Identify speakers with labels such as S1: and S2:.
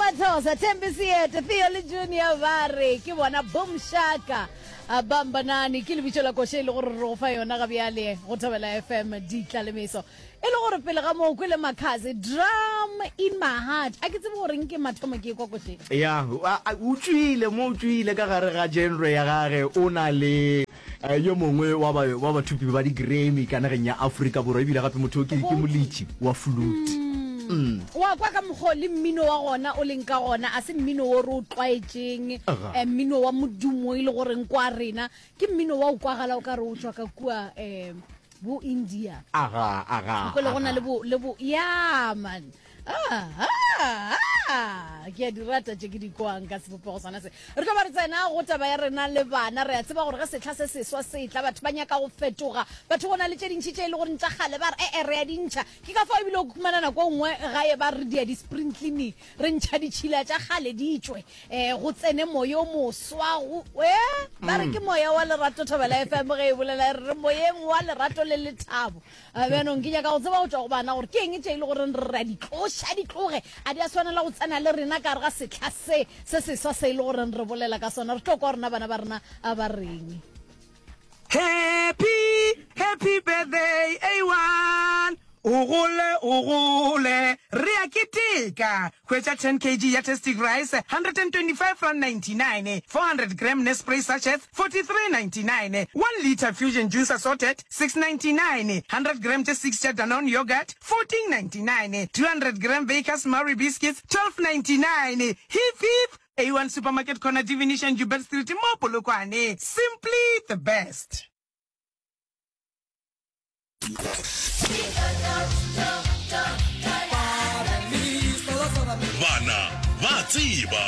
S1: Mathosa, Thembi Seete, Theo le Junior ba re ke bona Boom Shaka. A Bambanani ke lebitso la koša e le gore re go fa yona ga bjale go Thobela FM Ditlalemeso. E le gore pele ga moo kwele Makhadzi Drum in my heart. A ke tsebe gore nke mathomo ke ekwa košeng.
S2: Ya, o tšwile mo, o tšwile ka gare ga genre ya gage, o na le eh, yo mongwe wa ba wa bathupi ba di-Grammy ka nageng ya Afrika Borwa, ebile gape motho o ke ke moletši wa flute.
S1: Mm. Wa kwa ka mokgwa o le mmino wa gona o leng ka gona, a se mmino wo re o tlwaetšeng,
S2: Aga.
S1: eh, mmino wa modumo e le goreng kwa rena, ke mmino wa o kwagala o ka re o tšwa ka kua um bo India.
S2: Aga, aga,
S1: O kwele go na
S2: aga.
S1: le bo, le bo, ya man. Ah, ah, ah. Ke a di rata tše ke di kwang ka sebopego sona se. Re tlo ba re tsena go taba ya rena le bana. Re a tseba gore ge sehla se seswa se etla, batho ba nyaka go fetoga. Batho go na le tše dintši tše e le goreng tša kgale ba re, e-e, re a di ntšha. Ke ka fao ebile o khumana nako e nngwe gae ba re dia di-spring cleaning, re ntšha ditšhila tša kgale di tšwe, um go tsene moya o moswa. Go, e, ba re ke moya wa lerato. Thobela FM ge e bolela e re re moyeng wa lerato le lethabo. A Bjanong ke nyaka go tseba go tšwa go bana gore ke eng tše e le goreng re a di tloša, di tloge, a di a swanela go tsena le rena ka gare ga sehla se se seswa se e le goreng re bolela ka sona. Re tlo kwa rena bana ba rena a ba reng.
S3: Happy, happy birthday A1 O gole, o gole, re a keteka Hwetša 10 kg ya Tastic Rice, R125.99, 400 gram Nespray sachets, 43.99, 1 litre Fusion Juice assorted, 6.99, 100 gram tše 6 tša Danone yoghurt, 14.99, 200 gram Bakers Marie biscuits, 12.99. Hip hip! A1 Supermarket Corner Divination Joubert Street mo Polokwane. Simply the best.
S4: Bana ba tseba.